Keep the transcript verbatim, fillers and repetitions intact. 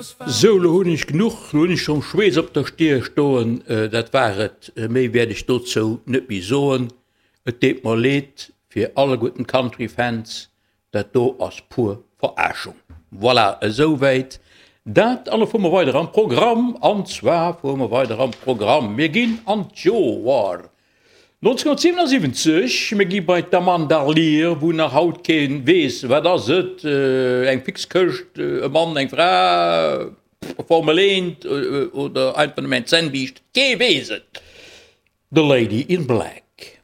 Sou, lo hunn ech genuch, lo hunn ech schonn Schweess op der Stier stoen. Dat war et, méi wäert ech dozou net méi soen. Et deet mer leed fir alleguerten d'Country-Fans, dat do ass pur Verarschung. Voilà, esouwäit dat. An lo fuere mer weider am Programm, an zwar fuere mer weider am Programm, mir ginn an d'Joer nonzénhunnertsiwenundsiwwenzeg, mir gi bei d'Amanda Lear, wou nach haut kee weess, wat ass et, eng fix Këscht, e Mann, eng Fra, Formel eent oder einfach nëmmen eng Zännbiischt, kee weess et, The Lady in Black.